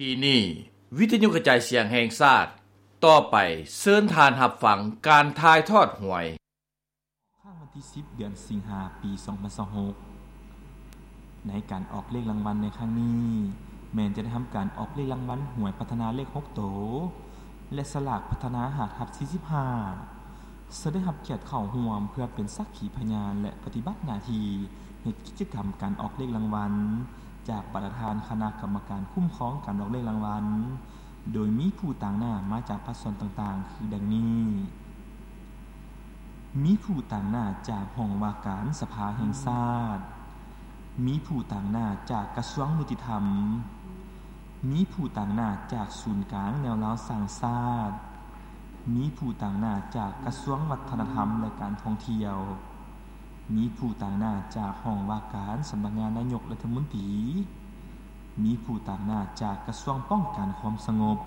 ທີ່ນີ້ ວິທະຍຸກະຈາຍສຽງແຫ່ງຊາດ, ຕໍ່ໄປເຊີນທ່ານຮັບຟັງການຖ່າຍທອດຫວຍ. ຄ້າງວັນທີສິບ ເດືອນສິງຫາ ປີສອງພັນຊາວຫົກ ໃນການອອກເລກລາງວັນໃນຄັ້ງນີ້ ແມ່ນຈະໄດ້ທຳການອອກເລກລາງວັນຫວຍພັດທະນາເລກຫົກໂຕ ແລະ ສະຫຼາກພັດທະນາ ຫ້າທັບສີ່ສິບຫ້າ ເຊິ່ງໄດ້ຮັບກຽດເຂົ້າຮ່ວມເພື່ອເປັນສັກຂີພະຍານ ແລະ ປະຕິບັດໜ້າທີ່ເຮັດກິດຈະກຳການອອກເລກລາງວັນ ຈາກປະທານຄະນະກຳມະການຄຸ້ມຄອງການອອກເລກລາງວັນ, ໂດຍມີຜູ້ຕາງໜ້າມາຈາກພາກສ່ວນຕ່າງໆ ຄືດັ່ງນີ້: ມີຜູ້ຕາງໜ້າຈາກຫ້ອງວ່າການສະພາແຫ່ງຊາດ, ມີຜູ້ຕາງໜ້າຈາກກະຊວງຍຸຕິທຳ, ມີຜູ້ຕາງໜ້າຈາກສູນກາງແນວລາວສ້າງຊາດ, ມີຜູ້ຕາງໜ້າຈາກກະຊວງວັດທະນະທຳ ແລະ ການທ່ອງທ່ຽວ, ມີຜູ້ຕາງໜ້າຈາກຫ້ອງວ່າການສຳນັກງານນາຍົກລັດຖະມົນຕີ, ມີຜູ້ຕາງໜ້າຈາກກະຊວງປ້ອງກັນຄວາມສະຫງົບ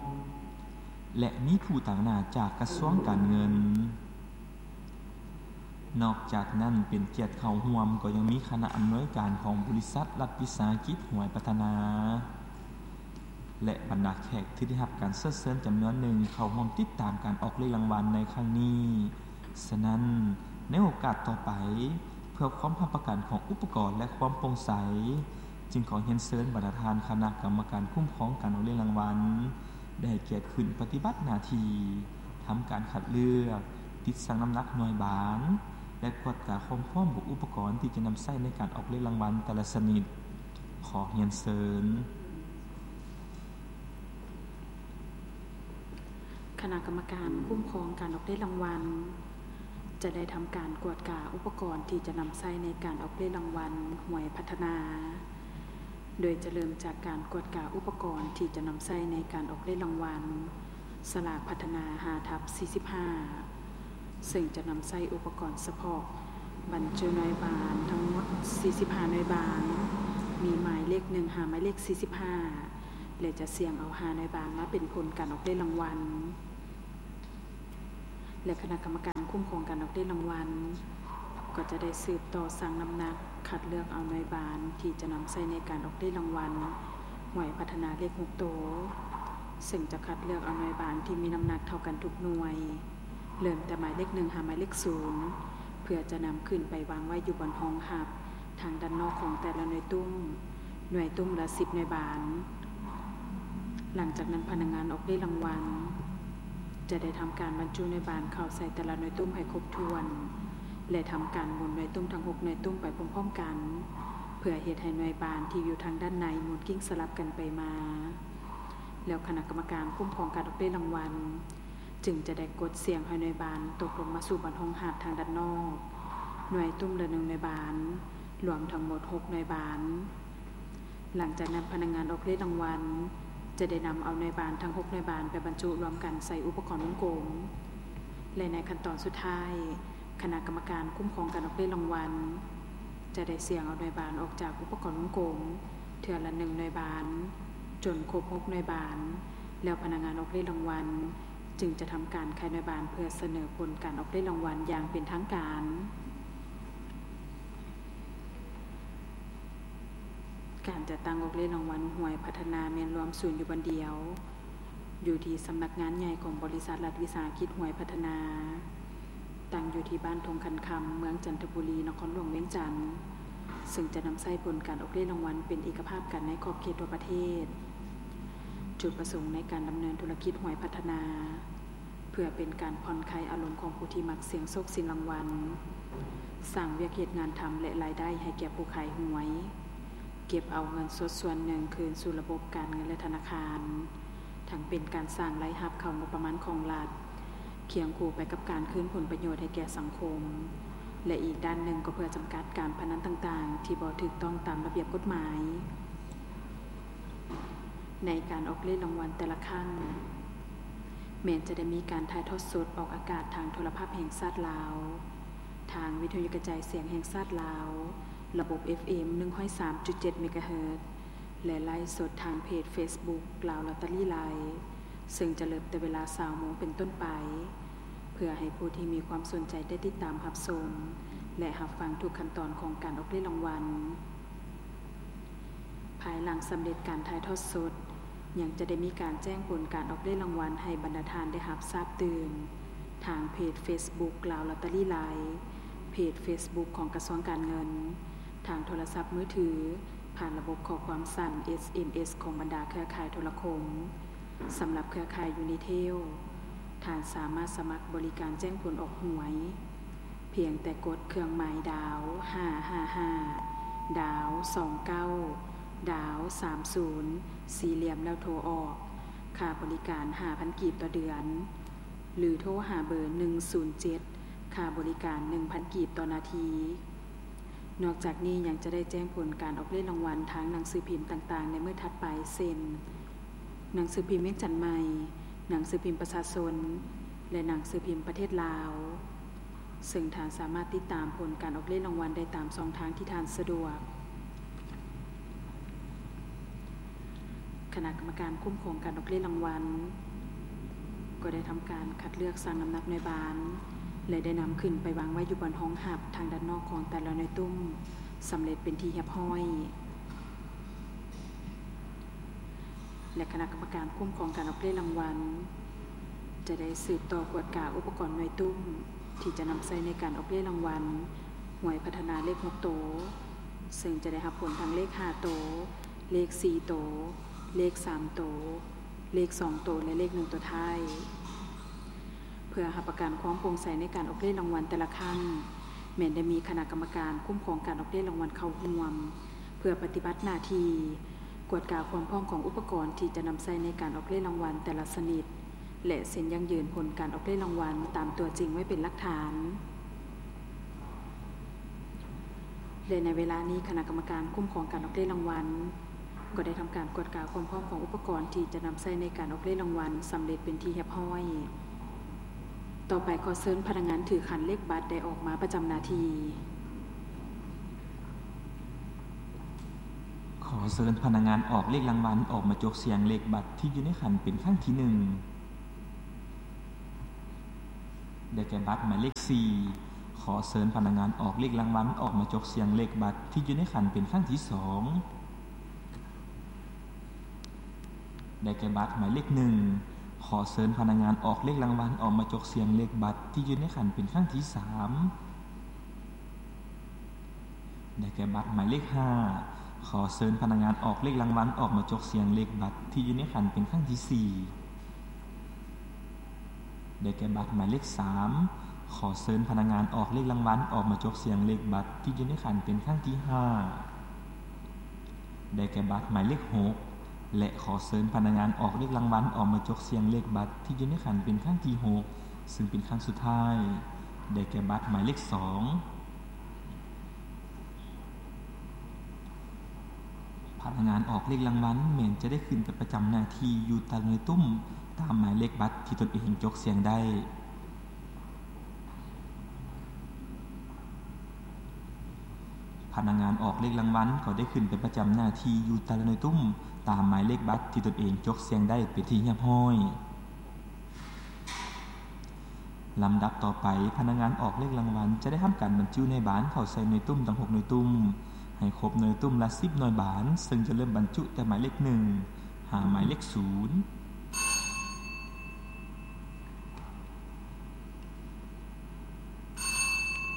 ແລະ ມີຜູ້ຕາງໜ້າຈາກກະຊວງການເງິນ. ນອກຈາກນັ້ນ ເປັນກຽດເຂົ້າຮ່ວມກໍຍັງມີຄະນະອຳນວຍການຂອງບໍລິສັດລັດວິສາຫະກິດຫວຍພັດທະນາ ແລະ ບັນດາແຂກທີ່ໄດ້ຮັບການເຊີນເຊີນຈຳນວນໜຶ່ງເຂົ້າຮ່ວມຕິດຕາມການອອກເລກລາງວັນໃນຄັ້ງນີ້. ສະນັ້ນ, ໃນໂອກາດຕໍ່ໄປ, ເພື່ອຄວາມຮັບປະກັນຂອງອຸປະກອນ ແລະ ຄວາມໂປ່ງໃສ, ຈຶ່ງຂໍຮຽນເຊີນບັນດາທ່ານຄະນະກຳມະການຄຸ້ມຄອງການອອກເລກລາງວັນ ໄດ້ໃຫ້ກຽດຂຶ້ນປະຕິບັດໜ້າທີ່ ທຳການຄັດເລືອກ, ຕິດຊັ່ງນ້ຳໜັກໜ່ວຍບານ ແລະ ກວດກາຄວາມພ້ອມຂອງອຸປະກອນທີ່ຈະນຳໃຊ້ໃນການອອກເລກລາງວັນແຕ່ລະຊະນິດ. ຂໍຮຽນເຊີນ. ຄະນະກຳມະການຄຸ້ມຄອງການອອກເລກລາງວັນ ຈະໄດ້ທຳການກວດກາອຸປະກອນທີ່ຈະນຳໃຊ້ໃນການອອກເລກລາງວັນຫວຍພັດທະນາ, ໂດຍຈະເລີ່ມຈາກການກວດກາອຸປະກອນທີ່ຈະນຳໃຊ້ໃນການອອກເລກລາງວັນສະຫຼາກພັດທະນາ ຫ້າທັບສີ່ສິບຫ້າ ເຊິ່ງຈະນຳໃຊ້ອຸປະກອນສະເພາະບັນຈຸໜ່ວຍບານທັງໝົດສີ່ສິບຫ້າໜ່ວຍບານ, ມີໝາຍເລກໜຶ່ງຫາໝາຍເລກສີ່ສິບຫ້າ ແລະ ຈະສ່ຽງເອົາຫ້າໜ່ວຍບານມາເປັນຜົນການອອກເລກລາງວັນ ແລະ ຄະນະກຳມະການຄຸ້ມຄອງການອອກເລກລາງວັນ ກໍຈະໄດ້ສືບຕໍ່ຊັ່ງນ້ຳໜັກ ຄັດເລືອກເອົາໜ່ວຍບານທີ່ຈະນຳໃຊ້ໃນການອອກເລກລາງວັນຫວຍພັດທະນາເລກຫົກໂຕ, ເຊິ່ງຈະຄັດເລືອກເອົາໜ່ວຍບານທີ່ມີນ້ຳໜັກເທົ່າກັນທຸກໜ່ວຍ ເລີ່ມແຕ່ໝາຍເລກໜຶ່ງຫາໝາຍເລກສູນ ເພື່ອຈະນຳຂຶ້ນໄປວາງໄວ້ຢູ່ບ່ອນຮອງຮັບທາງດ້ານນອກຂອງແຕ່ລະໜ່ວຍຕຸ້ມ, ໜ່ວຍຕຸ້ມລະສິບໜ່ວຍບານ. ຫຼັງຈາກນັ້ນ ພະນັກງານອອກເລກລາງວັນຈະໄດ້ທຳການບັນຈຸໜ່ວຍບານເຂົ້າໃສ່ແຕ່ລະໜ່ວຍຕຸ້ມໃຫ້ຄົບຖ້ວນ ແລະ ທຳການໝູນໜ່ວຍຕຸ້ມທັງຫົກໜ່ວຍຕຸ້ມໄປພ້ອມໆກັນ ເພື່ອເຮັດໃຫ້ໜ່ວຍບານທີ່ຢູ່ທາງດ້ານໃນໝູນກິ້ງສະຫຼັບກັນໄປມາ. ແລ້ວຄະນະກຳມະການຄຸ້ມຄອງການອອກເລກລາງວັນ ຈຶ່ງຈະໄດ້ກົດສ່ຽງໃຫ້ໜ່ວຍບານຕົກລົງມາສູ່ບ່ອນຮອງຮັບທາງດ້ານນອກ, ໜ່ວຍຕຸ້ມລະໜຶ່ງໜ່ວຍບານ, ລວມທັງໝົດຫົກໜ່ວຍບານ. ຫຼັງຈາກນັ້ນ ພະນັກງານອອກເລກລາງວັນຈະໄດ້ນຳເອົາໜ່ວຍບານທັງຫົກໜ່ວຍບານໄປບັນຈຸລວມກັນໃສ່ອຸປະກອນວົງກົມ ແລະ ໃນຂັ້ນຕອນສຸດທ້າຍ ຄະນະກຳມະການຄຸ້ມຄອງການອອກເລກລາງວັນຈະໄດ້ສ່ຽງເອົາໜ່ວຍບານອອກຈາກອຸປະກອນວົງກົມເທື່ອລະໜຶ່ງໜ່ວຍບານ ຈົນຄົບຫົກໜ່ວຍບານ. ແລ້ວພະນັກງານອອກເລກລາງວັນຈຶ່ງຈະທຳການໄຂໜ່ວຍບານເພື່ອສະເໜີຜົນການອອກເລກລາງວັນຢ່າງເປັນທາງການ. ການຈັດຕັ້ງອອກເລກລາງວັນຫວຍພັດທະນາແມ່ນລວມສູນຢູ່ບ່ອນດຽວ ຢູ່ທີ່ສຳນັກງານໃຫຍ່ຂອງບໍລິສັດລັດວິສາຫະກິດຫວຍພັດທະນາ. ຕັ້ງຢູ່ທີ່ບ້ານທົ່ງຄັນຄຳ ເມືອງຈັນທະບູລີ ນະຄອນຫຼວງວຽງຈັນ, ເຊິ່ງຈະນຳໃຊ້ຜົນການອອກເລກລາງວັນເປັນເອກະພາບກັນໃນຂອບເຂດທົ່ວປະເທດ, ຈຸດປະສົງໃນການດຳເນີນທຸລະກິດຫວຍພັດທະນາ ເພື່ອເປັນການຜ່ອນຄາຍອາລົມຂອງຜູ້ທີ່ມັກສ່ຽງໂຊກສ່ຽງລາງວັນ, ສ້າງວຽກເຮັດງານທຳ ແລະ ລາຍໄດ້ໃຫ້ແກ່ຜູ້ຂາຍຫວຍ, ເກັບເອົາເງິນສົດສ່ວນໜຶ່ງຄືນສູ່ລະບົບການເງິນ ແລະ ທະນາຄານ. ທັງເປັນການສ້າງລາຍຮັບເຂົ້າງົບປະມານຂອງລັດ, ຄຽງຄູ່ໄປກັບການຄືນຜົນປະໂຫຍດໃຫ້ແກ່ສັງຄົມ ແລະ ອີກດ້ານໜຶ່ງກໍເພື່ອຈຳກັດການພະນັນຕ່າງໆ ທີ່ບໍ່ຖືກຕ້ອງຕາມລະບຽບກົດໝາຍ. ໃນການອອກເລກລາງວັນແຕ່ລະຄັ້ງ ແມ່ນຈະໄດ້ມີການຖ່າຍທອດສົດອອກອາກາດທາງໂທລະພາບແຫ່ງຊາດລາວ, ທາງວິທະຍຸກະຈາຍສຽງແຫ່ງຊາດລາວ, ລະບົບ ເອັຟເອັມ ໜຶ່ງຮ້ອຍສາມຈຸດເຈັດ ເມກາເຮີດ ແລະ ໄລຟ໌ສົດທາງເພຈເຟສບຸກ ລາວລອດເຕີຣີໄລຟ໌ ເຊິ່ງຈະເລີ່ມແຕ່ເວລາຊາວໂມງເປັນຕົ້ນໄປ ເພື່ອໃຫ້ຜູ້ທີ່ມີຄວາມສົນໃຈໄດ້ຕິດຕາມຮັບຊົມ ແລະ ຮັບຟັງທຸກຂັ້ນຕອນຂອງການອອກເລກລາງວັນ. ພາຍຫຼັງສຳເລັດການຖ່າຍທອດສົດ, ຍັງຈະໄດ້ມີການແຈ້ງຜົນການອອກເລກລາງວັນໃຫ້ບັນດາທ່ານໄດ້ຮັບຊາບຕື່ມ ທາງເພຈເຟສບຸກ ລາວລອດເຕີຣີ ລາຍ, ເພຈເຟສບຸກຂອງກະຊວງການເງິນ, ທາງໂທລະສັບມືຖື, ຜ່ານລະບົບຂໍ້ຄວາມສັ້ນ ເອສເອັມເອສ ຂອງບັນດາເຄືອຂ່າຍໂທລະຄົມ. ສຳລັບເຄືອຂ່າຍຢູນິເທວ, ທ່ານສາມາດສະໝັກບໍລິການແຈ້ງຜົນອອກຫວຍ ພຽງແຕ່ກົດເຄື່ອງໝາຍດາວ ຫ້າຫ້າຫ້າ ດາວ ສອງເກົ້າ ດາວ ສາມສູນ ສີ່ຫຼ່ຽມ ແລ້ວໂທອອກ. ຄ່າບໍລິການ ຫ້າພັນກີບຕໍ່ເດືອນ ຫຼື ໂທຫາເບີ ໜຶ່ງສູນເຈັດ ຄ່າບໍລິການ ໜຶ່ງພັນກີບຕໍ່ນາທີ. ນອກຈາກນີ້ຍັງຈະໄດ້ແຈ້ງຜົນການອອກເລກລາງວັນທາງໜັງສືພິມຕ່າງໆໃນມື້ຖັດໄປ ເຊັ່ນ ໜັງສືພິມວຽງຈັນໃໝ່, ໜັງສືພິມປະຊາຊົນ ແລະ ໜັງສືພິມປະເທດລາວ, ເຊິ່ງທ່ານສາມາດຕິດຕາມຜົນການອອກເລກລາງວັນໄດ້ຕາມຊ່ອງທາງທີ່ທ່ານສະດວກ. ຄະນະກຳມະການຄຸ້ມຄອງການອອກເລກລາງວັນ ກໍໄດ້ທຳການຄັດເລືອກຊັ່ງນ້ຳໜັກໜ່ວຍບານ ແລະ ໄດ້ນຳຂຶ້ນໄປວາງໄວ້ຢູ່ບ່ອນຮອງຮັບທາງດ້ານນອກຂອງແຕ່ລະໜ່ວຍຕຸ້ມ ສຳເລັດເປັນທີ່ຮຽບຮ້ອຍ. ແລະ ຄະນະກຳມະການຄຸ້ມຄອງການອອກເລກລາງວັນ ຈະໄດ້ສືບຕໍ່ກວດກາອຸປະກອນໜ່ວຍຕຸ້ມ ທີ່ຈະນຳໃຊ້ໃນການອອກເລກລາງວັນ ຫວຍພັດທະນາເລກຫົກໂຕ, ເຊິ່ງຈະໄດ້ຮັບຜົນທັງເລກຫ້າໂຕ, ເລກສີ່ໂຕ, ເລກສາມໂຕ, ເລກສອງໂຕ ແລະ ເລກໜຶ່ງໂຕທ້າຍ. ເພື່ອຮັບປະກັນຄວາມໂປ່ງໃສໃນການອອກເລກລາງວັນແຕ່ລະຄັ້ງ, ແມ່ນໄດ້ມີຄະນະກຳມະການຄຸ້ມຄອງການອອກເລກລາງວັນເຂົ້າຮ່ວມ ເພື່ອປະຕິບັດໜ້າທີ່ ກວດກາຄວາມພ້ອມຂອງອຸປະກອນທີ່ຈະນຳໃຊ້ໃນການອອກເລກລາງວັນແຕ່ລະຊະນິດ ແລະ ເຊັນຢັ້ງຢືນຜົນການອອກເລກລາງວັນຕາມຕົວຈິງໄວ້ເປັນຫຼັກຖານ. ແລະ ໃນເວລານີ້ ຄະນະກຳມະການຄຸ້ມຄອງການອອກເລກລາງວັນ ກໍໄດ້ທຳການກວດກາຄວາມພ້ອມຂອງອຸປະກອນທີ່ຈະນຳໃຊ້ໃນການອອກເລກລາງວັນສຳເລັດເປັນທີ່ຮຽບຮ້ອຍ. ຕໍ່ໄປ ຂໍເຊີນພະນັກງານຖືຂັນເລກບັດໄດ້ອອກມາປະຈຳໜ້າທີ່. ຂໍເຊີນພະນັກງານອອກເລກລາງວັນອອກມາຈົກສ່ຽງເລກບັດທີ່ຢູ່ໃນຂັນເປັນຄັ້ງທີໜຶ່ງ. ໄດ້ແກ່ບັດໝາຍເລກສີ່. ຂໍເຊີນພະນັກງານອອກເລກລາງວັນອອກມາຈົກສ່ຽງເລກບັດທີ່ຢູ່ໃນຂັນເປັນຄັ້ງທີສອງ. ໄດ້ແກ່ບັດໝາຍເລກໜຶ່ງ. ຂໍເຊີນພະນັກງານອອກເລກລາງວັນອອກມາຈົກສ່ຽງເລກບັດທີ່ຢູ່ໃນຂັນເປັນຄັ້ງທີສາມ. ໄດ້ແກ່ບັດໝາຍເລກຫ້າ. ຂໍເຊີນພະນັກງານອອກເລກລາງວັນອອກມາຈົກສ່ຽງເລກບັດທີ່ຢູ່ໃນຂັນເປັນຄັ້ງທີສີ່. ໄດ້ແກ່ບັດໝາຍເລກສາມ. ຂໍເຊີນພະນັກງານອອກເລກລາງວັນອອກມາຈົກສ່ຽງເລກບັດທີ່ຢູ່ໃນຂັນເປັນຄັ້ງທີຫ້າ. ໄດ້ແກ່ບັດໝາຍເລກຫົກ ແລະ ຂໍເຊີນພະນັກງານອອກເລກລາງວັນອອກມາຈົກສ່ຽງເລກບັດທີ່ຢູ່ໃນຂັນເປັນຄັ້ງທີຫົກ ເຊິ່ງເປັນຄັ້ງສຸດທ້າຍ. ໄດ້ແກ່ບັດໝາຍເລກສອງ. ພະນັກງານອອກເລກລາງວັນແມ່ນຈະໄດ້ຂຶ້ນໄປປະຈຳໜ້າທີ່ຢູ່ແຕ່ລະໜ່ວຍຕຸ້ມຕາມໝາຍເລກບັດທີ່ຕົນເອງຈົກສ່ຽງໄດ້. ພະນັກງານອອກເລກລາງວັນກໍໄດ້ຂຶ້ນໄປປະຈຳໜ້າທີ່ຢູ່ແຕ່ລະໜ່ວຍຕຸ້ມຕາມໝາຍເລກບັດທີ່ຕົນເອງຈົກສ່ຽງໄດ້ເປັນທີ່ຮຽບຮ້ອຍ. ລຳດັບຕໍ່ໄປ, ພະນັກງານອອກເລກລາງວັນຈະໄດ້ທຳການບັນຈຸໜ່ວຍບານເຂົ້າໃສ່ໜ່ວຍຕຸ້ມທັງຫົກໜ່ວຍຕຸ້ມ ໃຫ້ຄົບໜ່ວຍຕຸ້ມລະສິບໜ່ວຍບານ, ເຊິ່ງຈະເລີ່ມບັນຈຸແຕ່ໝາຍເລກໜຶ່ງ ຫາໝາຍເລກສູນ.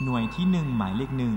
ໜ່ວຍທີໜຶ່ງ ໝາຍເລກໜຶ່ງ.